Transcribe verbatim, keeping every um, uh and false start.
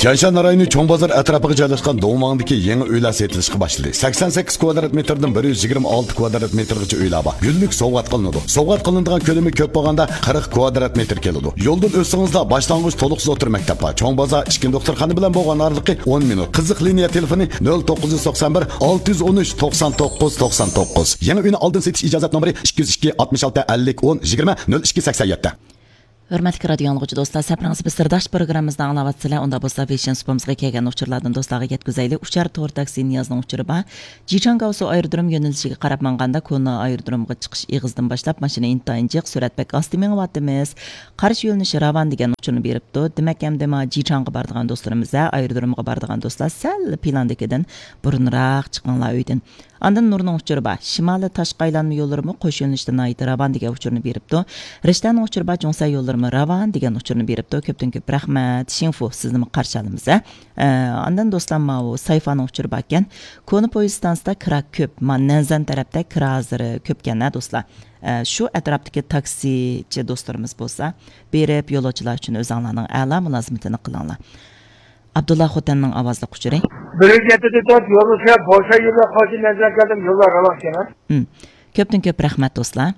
تيەنشان رايونى چوڭ بازار ئەتراپىغا جايلاشقان دۇڭۋاڭدىكى يېڭى ئۆيلەر سېتىلىشقا باشلىدى. سەكسەن سەككىز كۋادرات مېتىردىن بىر يۈز يىگىرمە ئالتە كۋادرات مېتىرغىچە ئۆيلەر بار. گۈللۈك سوۋغات قىلىنىدۇ. سوۋغات قىلىنىدىغان كۆلىمى كۆپ بولغاندا قىرىق كۋادرات مېتىر كېلىدۇ. يولدىن ئۆتسىڭىزلا باشلانغۇچ تولۇقسىز ئوتتۇرا مەكتەپ بار. چوڭ بازار ئىچكى دوختۇرخانا بىلەن بولغان ئارىلىقى ئون مىنۇت. قىزىق لىنىيە تېلېفونى نۆل توققۇز يۈز توقسان بىر، ئالتە يۈز ئون ئۈچ، توقسان توققۇز، توقسان توققۇز. يېڭى ئۆينى ئالدىن سېتىش ئىجازەت نومۇرى ئىككى يۈز ئىككى، ئاتمىش ئالتە، ئەللىك، ئون، يىگىرمە، نۆل ئىككى، سەكسەن يەتتە. ھۆرمەتلىك رادىيو ئاڭلىغۇچى دوستلار، سەپىرىڭىز بىز سىرداش پروگراممىمىزنى ئاڭلاۋاتىسىلەر. ئۇندا بولسا ۋېيشىن سۇپىمىزغا كەلگەن ئۇچۇرلاردىن دوستلارغا يەتكۈزەيلى. ئۇچار تور تاكسى نىيازنىڭ ئۇچۇرى بار. جىچاڭگاۋسۇ ئايرودروم يۆنىلىشىگە قاراپ ماڭغاندا كونا ئايرودرومغا چىقىش ئېغىزىدىن باشلاپ ماشىنا ئىنتايىن جىق، سۈرئەت بەك ئاستا مېڭىۋاتىمىز. قارشى يۆنىلىش راۋان دېگەن ئۇچۇرنى بېرىپتۇ. دېمەك، ئەمدى ما جىچاڭغا بارىدىغان دوستلىرىمىز ھە، ئايرودرومغا بارىدىغان دوستلار سەل پىلاندىكىدىن بۇرۇنراق چىقىڭلار ئۆيدىن. ئاندىن نۇرنىڭ ئۇچۇرى بار. شىمالىي تاشقى ئايلانما يوللىرىمۇ قوش يۆنىلىشتە ناھايىتى راۋان دېگەن ئۇچۇرنى بېرىپتۇ. رىشتەنىڭ ئۇچۇرى بار. جۇڭسەن يوللىرىمۇ راۋان دېگەن ئۇچۇرنى بېرىپتۇ. كۆپتىن كۆپ رەھمەت. شىڭفۇ، سىزنىمۇ قارشى ئالىمىز ھە. ئە، ئاندىن دوستلار، ماۋۇ سايفانىڭ ئۇچۇرى باركەن. كونا پويىز ستانسىدا كىرا كۆپ. ما نەنزەن تەرەپتە كىرا ھازىر كۆپكەن ھە دوستلار. ئە، شۇ ئەتراپتىكى تاكسىچى دوستلىرىمىز بولسا بېرىپ يولۇچىلار ئۈچۈن ئۆزۈڭلارنىڭ ئەلا مۇلازىمىتىنى قىلىڭلار. ئابدۇللا خوتەننىڭ ئاۋازلىق ئۇچۇرى. بىر يۈز يەتتە تۆت يولنى سۆرەپ، بوشا يولدا قارشى نەزەر كەلدىم، يوللار راۋان ئىكەن. ھىم. كۆپتىن كۆپ رەھمەت دوستلار.